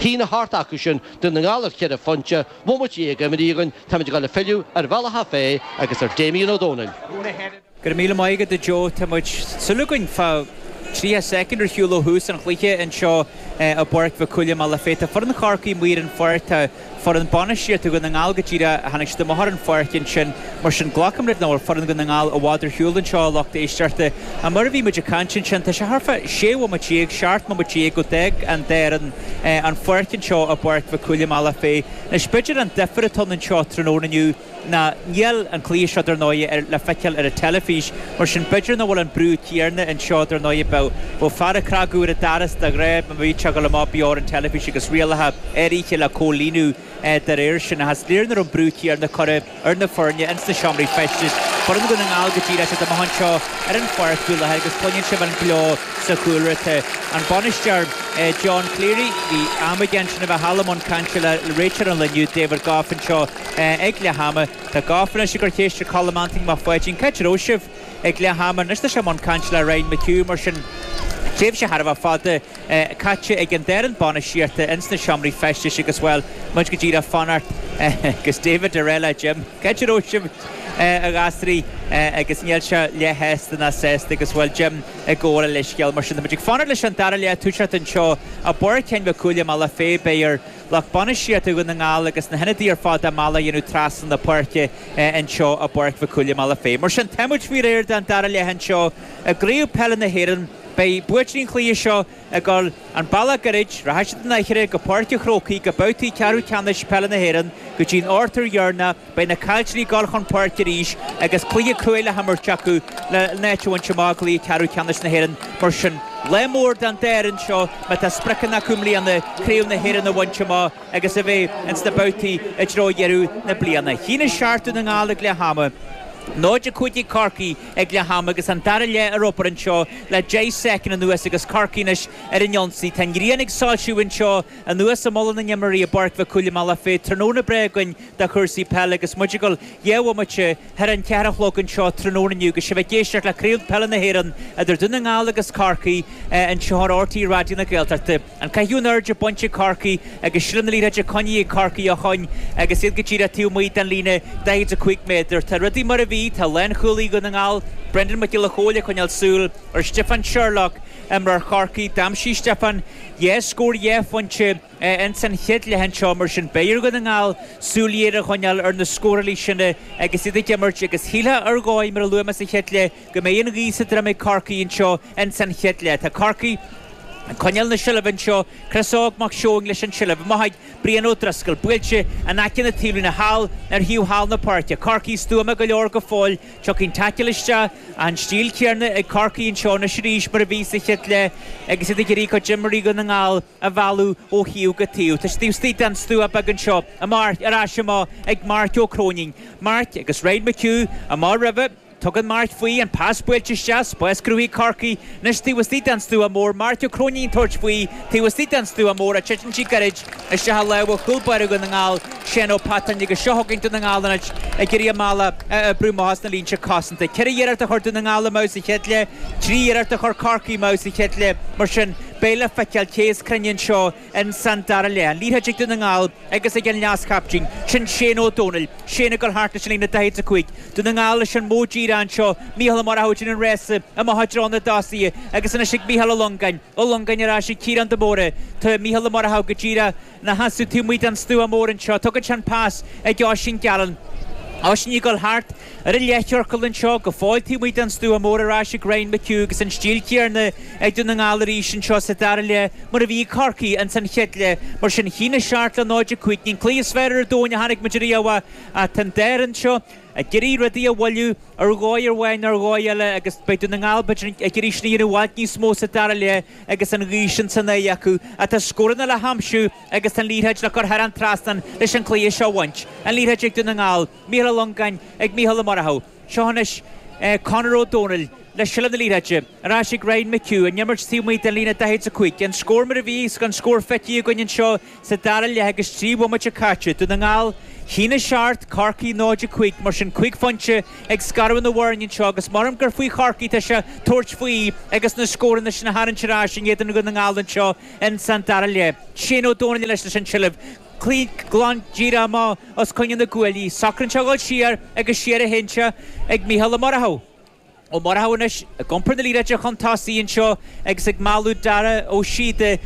1-8 acu sin, Dún na nGall ar cheithre phointe, bomaite imithe againn, táimid ag dul ag filleadh ar Bhealach Féich agus ar Damien Ó Dónaill. Go raibh míle maith agat a Joe. Tá muid súil againn fá 30 soicind ar shiúl ó thús an chluiche anseo i bPáirc Mhic Cumhaill i mBealach Féich. Tá foireann Chorcaí amuigh ar an pháirc, tá foireann bainistíochta Dhún na nGall go díreach, tháinig siad amach ar an pháirc ansin. Mar sin glacaim leis nach bhfuil foireann Dhún na nGall i bhfad ar shiúl anseo a lucht éisteachta. Ach mar a bhí muid ag caint ansin, tá sé thart fá 16 bhomaite, 17 mbomaite go d'fhág an dá fhoireann an pháirc anseo i bPáirc Mhic Cumhaill i mBealach Féich. Anois b'fhéidir an difear atá ann anseo tráthnóna inniu, ná níl an cluiche seo dar ndóigh ar le feiceáil ar an teilifís, mar sin b'fhéidir nach bhfuil an brú céanna anseo dar ndóigh bheadh bheadh fear ag cnagadh ar an doras de ghnáth má bhí sé ag dul amach beo ar an teilifís agus rialacha áirithe le comhlíonadh dá réir sin ach is léir nach raibh an brú céanna curtha ar na foirne ins na seomraí feistis. Foireann Dhún na nGall go díreach siad amach anseo ar an pháirc faoi láthair agus cluineann sibh an gleo sa chúlra. Tá an bainisteoir John Cleary, bhí am aige ansin a bheith thall i mbun cainte le réiteoir an lae inniu David Gough anseo Ag leath ama, tá Gough anois ag cur ceist ar Colm Anthony Mac Pháidín, Cá háit a raibh sibh ag leath ama? Anois tá sé i mbun cainte le Ryan McHugh, mar sin tréimhse thar a bheith fada caite ag an dá fhoireann bainistíochta ins na seomraí feistis agus, bhuel, muid go díreach ag fanacht agus David ag rá le Jim, Cá háit a raibh sibh, a ghasraí? Agus níl sé leath-shásta ná sásta agus, bhuel, Jim ag gabháil a leithscéal. Mar sin, tá muid ag fanacht leis an dara leath ag toiseacht anseo i bPáirc Sheáin Mhic Cumhaill i mBealach Féich. Beidh ar. Lucht bainistíochta Dhún na nGall agus na hionadaithe ar fad a mbealach a dhéanamh trasna na páirce anseo i bPáirc Mhic Cumhaill i mBealach Féich. Mar sin, tá muid faoi réir don dara leath anseo i gCraobh Peile na hÉireann. Beidh buaiteoirí an chluiche seo ag dul an bealach gairid, rachaidh siad an Fhairche go Páirc an Chrócaigh go babhtaí ceathrú ceannais peile na hÉireann go dtí an ochtú dheireanach. Beidh na caillteoirí ag dul chun páirce arís agus cluiche cruaidh le himirt acu le n-áit a bhaint amach i gcluiche ceathrú ceannais na hÉireann. Mar sin, lá mór don dá fhoireann seo má tá spriocanna acu i mbliana Craobh na hÉireann a bhaint amach agus a bheith ins na babhtaí i dtreo dheireadh na bliana. 1-7 Dún na nGall ag leath ama. 0-5 ag Corcaigh ag leath ama agus an dara leath ar obair anseo le 10 soicind anuas agus Corcaigh anois ar an ionsaí. Tá an ghrian ag soilsiú anseo anuas i Mullach na nIomairí i bPáirc Mhic Cumhaill i mBealach Féich. Tráthnóna breá againn do chúrsaí peile agus muid ag dul 2 bhomaite thar an cheathair a chlog anseo tráthnóna inniu agus sibh ag éisteacht le Craobh Peile na hÉireann idir Dún na nGall agus Corcaigh anseo ar RTÉ Raidió na Gaeltachta. An caitheamh in airde bainte ag Corcaigh agus seilbh na liathróide coinnithe ag Corcaigh ó shoin agus iad go díreach taobh amuigh den líne 45 méadar. Tá rudaí mar a bhí, tá lánchúlaí Dhún na nGall, Brendan Mac Giolla Chóill ag coinneáil súil ar Stiofán Sherlock, imreoir Chorcaí. D'aimsigh Stiofán dhá scór dhá phointe. Ins an chéad leath anseo, mar sin, beidh ar Dhún na nGall súil ghéar a choinneáil ar na scórálaithe sin agus iad ag imirt agus shílfeá ar dhóigh, mar a luaigh mé sa chéad leath, go mbeidh an ghaoth sa droim ag Corcaigh anseo ins an chéad leath. Tá Corcaigh ag coinneáil na seilbhe anseo, Chris Óg Mac Seoin leis an tseilbh, amach ag Brian Ó Drisceoil, buailte in aice na taobhlíne thall ar thaobh thall na páirce. Corcaigh stuama go leor go fóill, tiocfaidh an taicil isteach, an stíl chéanna ag Corcaigh anseo anois arís mar a bhí sa chéad leath agus iad ag iarraidh a gcuid imreoirí Dhún na nGall a mhealladh ó thaobh go taobh. Tá siad taobh istigh den stua beag anseo. Amach, ar ais amach ag Marc Ó Cróinín. Marc agus Ryan McHugh amach roimhe. Tugann Marc faoi, an pas buailte isteach, spás cruthaithe ag Corcaigh anois taobh istigh den stua mór. Marc Ó Cróinín ag tabhairt faoi taobh istigh den stua mór ach titeann sí gairid isteach i lámha chúl báire Dhún na nGall, Seán Ó Peatáin agus seo chugainn Dún na nGall anois ag iarraidh a mbealach a oibriú amach as na línte cosanta. Ceithre iarracht a chuir Dún na Ngall amú sa chéad leath, trí iarracht a chuir Corcaigh amú sa chéad leath. Mar sin, Beidh le feiceáil cé is cruinne anseo in san dara leath. An liathróid ag Dún na nGall agus ag an leas-chaiptín, sin Shane Ó Dónaill. Shane ag dul thart leis an líne 45. Dún na nGall leis an modh díreach anseo. Mícheál Ó Murchú ag déanamh an rása amach i dtreo na dtosaithe agus anois ag Mícheál Ó Longáin. Ó Longáin ar ais ag Ciarán de Mórdha. Tá Mícheál Ó Murchú go díreach ina sheasamh taobh amuigh den stua mór anseo. Tugann sé an pas ag Oisín Gallen. Oisín ag dul thart ar an leathchiorcal anseo go fóill taobh amuigh den stua mór ar ais ag Ryan McHugh agus an stíl chéanna ag Dún na nGall arís anseo sa dara leath mar a bhí ag Corcaigh ins an chéad leath. Mar sin, 1-7 le 0-5. Ní an cluiche is fearr ar domhan a chonaic muid ariamh ach tá an dá fhoireann seo ag iarraidh rudaí a mhoilliú ar dhóigh amháin nó ar dhóigh eile agus beidh Dún na nGall b'fhéidir ag iarraidh sin a dhéanamh i bhfad níos mó sa dara leath agus an ghaoth sin san aghaidh acu. Ach tá scóranna le haimsiú agus tá an liathróid le cur thar an trasnán leis an cluiche seo a bhaint. An liathróid ag Dún na nGall, Mícheál Ó Longáin ag Mícheál Ó Murchú. Seo anois Conor Ó Dónaill. le seilbh na liathróide. Ar ais ag Ryan McHugh, an imirt taobh amuigh den líne 45. An scór mar a bhí agus an scór feicthe againn anseo sa dara leath agus 3 bhomaite caite. Dún na nGall 1-7, Corcaigh 0-5. Mar sin 5 phointe ag scaradh na bhfoirne anseo agus measaim gur faoi Chorcaigh atá sé tabhairt faoi agus na scóranna sin a tharraingt ar ais in éadan Dhún na nGall anseo ins an dara leath. Shane Ó Dónaill anois leis an tseilbh. Cloígh glan díreach amach os coinne na gcuaillí. Socraíonn sé a dhul siar agus siar a théann sé ag Mícheál Ó Murchú. Ó Murchú anois ag iompar na liathróide chun tosaigh anseo agus ag mealladh Dara Ó Síoda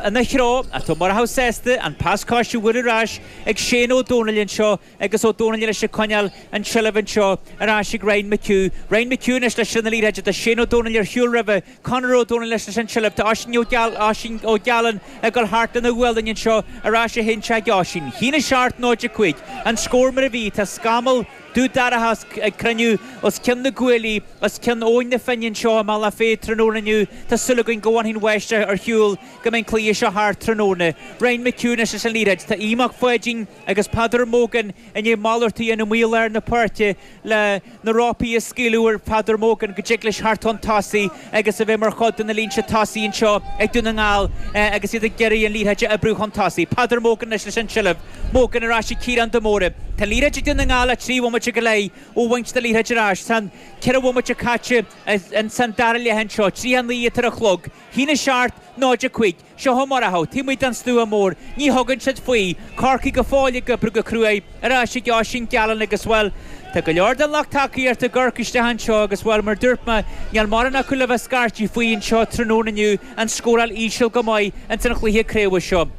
ina threo. Ach tá Ó Murchú sásta an pas coise a bhualadh ar ais ag Shane Ó Dónaill anseo agus Ó Dónaill anois ag coinneáil an tseilbh anseo ar ais ag Ryan McHugh. Ryan McHugh anois le seilbh na liathróide. Tá Shane Ó Dónaill ar shiúl roimhe. Conor Ó Dónaill anois leis an tseilbh. Tá Oisín Ó Oisín Ó Gealáin ag dul thart lena ghualainn anseo ar ais a théann sé ag Oisín. 1-7 0-5 an scór mar a bhí. Tá scamall dubh dorcha ag cruinniú os cionn na gcuaillí, os cionn Abhainn na Finne anseo i mBealach Féich tráthnóna inniu. Tá súil againn go bhfanfaidh an bháisteach ar shiúl go mbeidh an cluiche seo thart tráthnóna. Ryan McHugh anois leis an liathróid. Tá Aodh Mac Pháidín agus Peadar Mogan i ndiaidh malartú a dhéanamh amuigh i lár na páirce le na rópaí a scaoileadh ar Pheadar Mogan go dtig leis theacht chun tosaigh agus a bheith mar chuid de na línte tosaigh anseo ag Dún na nGall agus iad ag iarraidh an liathróid a oibriú chun tosaigh. Peadar Mogan anois leis an tseilbh. Mogan ar ais ag Ciarán de Mórdha. Tá an liathróid ag Dún na nGall le 3 bhomaite go leith ó bhaint na liathróide ar ais. Tá an 4 bhomaite caite ins an dara leath anseo. 39 atá ar an chlog. 1-7, 0-5. Seo Ó Murchú, taobh amuigh den stua mór. Ní thugann siad faoi. Corcaigh go fóill ag oibriú go cruaidh. Ar ais ag Oisín Gallen agus, bhuel, tá go leor den lucht tacaíochta ag amharc isteach anseo agus, bhuel, mar dúirt mé, níl mórán acu le bheith scairtí faoi anseo tráthnóna inniu, an scóráil íseal go maith ins an chluiche craoibhe seo.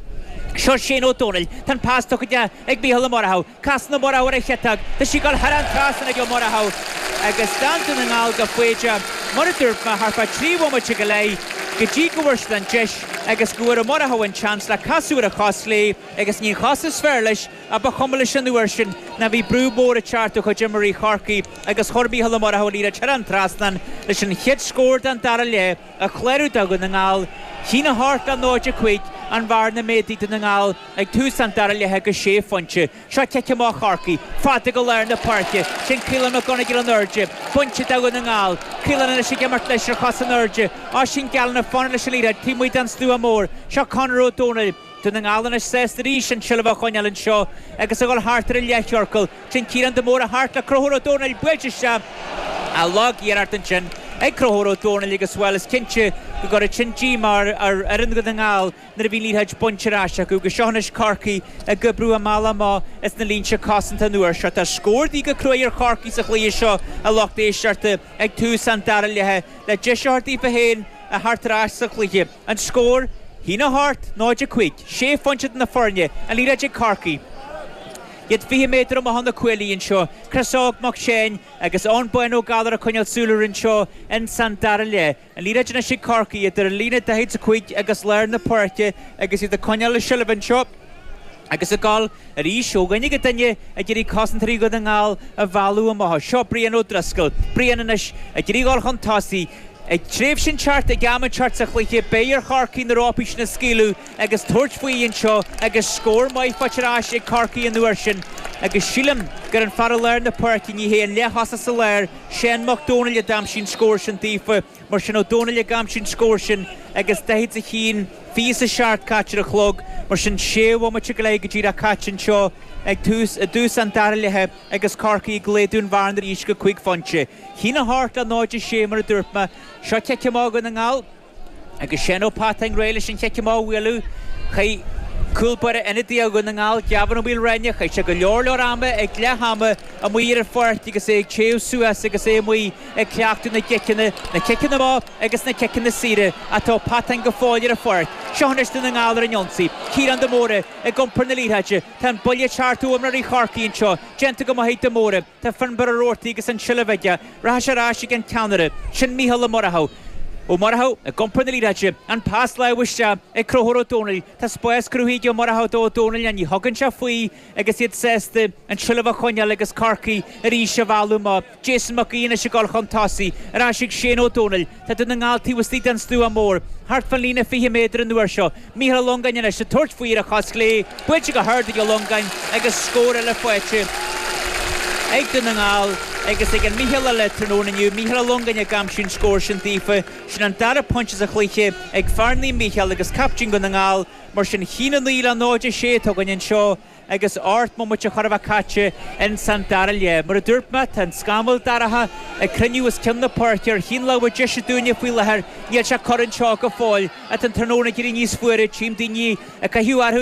Seo Shane Ó Dónaill. Tá an pas tugtha ag Mícheál Ó Murchú. Casann Ó Murchú ar a chiotóg. Tá sí ag dul thar an trasnán ag Ó Murchú agus d'fhan Dún na nGall go foighdeach, mar a dúirt mé, thart fá thrí bhomaite go leith go dtí go bhfuair siad an deis agus go bhfuair Ó Murchú an seans le casadh ar a chos chlé agus ní an chos is fearr leis ach ba chuma leis an uair sin ná bhí brú mór ag teacht ó chuid imreoirí Chorcaí agus chuir Mícheál Ó Murchú an liathróid thar an trasnán leis an chéad scór den dara leath a chlárú do Dhún na nGall. 1-8 le 0-5 an bhearna méadaithe Dún na nGall. Ag tús an dara leatha go sé phointe. Seo cic amach Chorcaí. Fada go lár na páirce. Sin Caolán Mac Gonigle in airde. Pointe do Dhún na nGall. Caolán anois ag imirt leis ar chos in airde. Oisín Gallen ag fanacht leis an liathróid taobh amuigh den stua mór. Seo Conor Ó Dónaill. Dún na nGall anois sásta arís an tseilbh a choinneáil anseo agus a dhul thart ar an leathchiorcal. Sin Ciarán de Mórdha thart le Conchúr Ó Dónaill buailte isteach. Lag-iarracht ansin ag Conchúr Ó Dónaill agus bhuel is cinnte go gcuirfidh sin díomá ar fhoireann Dhún na nGall. nuair a bhí an liathróid bainte ar ais acu agus seo anois Corcaigh ag oibriú a mbealach amach as na línte cosanta an uair seo. Tá scór de dhíth go cruaidh ar Chorcaigh sa chluiche seo, a lucht éisteachta, ag tús an dara leatha le deis a thabhairt daofa féin a theacht ar ais sa chluiche. An scór, 1-8, 0-5. Sé phointe idir na foirne, an liathróid ag Corcaigh. Iad 20 méadar amach ó na cuaillí anseo. Chris Óg Mac Seáin agus Eoin Bán Ó Gallchóir ag coinneáil súil air anseo ins an dara leath. An liathróid anois ag Corcaigh idir an líne 45 agus lár na páirce agus iad ag coinneáil a seilbh anseo agus ag dul arís ó dhuine go duine ag iarraidh cosantóirí Dhún na nGall a mhealladh amach. Seo Brian O'Driscoll. Brian anois ag iarraidh dhul chun tosaigh. Ag tréimhse inteacht, ag am inteacht sa chluiche, beidh ar Chorcaigh na rópaí sin a scaoileadh agus tabhairt faoi anseo agus scór maith faighte ar ais ag Corcaigh an uair sin agus sílim gur an fear i lár na páirce, ní hé an leath-thosach sa lár, Seán Mac Dónaill a d'aimsigh an scór sin daofa. Mar sin Ó Dónaill ag aimsiú an scór sin agus 41, 27 caite ar an chlog. Mar sin sé bhomaite go leith go díreach caite anseo ag tús, i dtús an dara leatha agus Corcaigh ag laghdú an bhearna arís go 5 phointe. 1-8 le 0-6 mar a dúirt mé. Seo cic amach Dhún na nGall. Agus Seán Ó Peatáin réidh leis an chic amach a bhualadh. Chaith cúl báire ionadaíoch Dhún na nGall, Gavin Ó Maoilreáine, chaith sé go leor leor ama ag leath ama amuigh ar an pháirc agus é ag téamh suas agus é amuigh ag cleachtadh na gciceanna, na ciceanna amach agus na ciceanna saora. Ach tá Ó Peatáin go fóill ar an pháirc. Seo anois Dún na nGall ar an ionsaí. Ciarán de Mórdha ag iompar na liathróide. Tá an buille ag teacht ó imreoirí Chorcaí anseo. Déanta go maith ag de Mórdha. Tá Fionnbarr Ó Roarty agus an tseilbh aige. Rachaidh sé ar ais ag an ceannaire. Sin Mícheál Ó Murchú. Ó Murchú ag iompar na liathróide. An pas láimhe isteach ag Conchúr Ó Dónaill. Tá spás cruthaithe ag Ó Murchú do Ó Dónaill ach ní thugann sé faoi agus iad sásta an tseilbh a choinneáil agus Corcaigh arís á mhealladh amach. Jason Mac Aoidh anois ag dul chun tosaigh. Ar ais ag Shane Ó Dónaill. Tá Dún na nGall taobh istigh den stua mór, thart fán líne 20 méadar an uair seo. Mícheál Ó Longáin anois ag tabhairt faoi ar a chos chlé, buailte go hard ag Ó Longáin agus scór eile faighte ag Dún na nGall. Agus ag an Mícheál eile tráthnóna inniu, Mícheál Ó Longáin ag aimsiú an scór sin daofa. Sin an dara pointe sa chluiche ag fear Naomh Mícheál agus captaen Dhún na nGall. Mar sin, 1-9 le 0-6 atá againn anseo agus 8 mbomaite chóir a bheith caite ins an dara leath. Mar a dúirt mé, tá an scamall dorcha ag cruinniú os cionn na páirce ar thaobh na láimhe deise dúinne faoi láthair. Níl sé corr anseo go fóill. Tá an tráthnóna ag éirí níos fuaire, tchím daoine ag caitheamh orthu.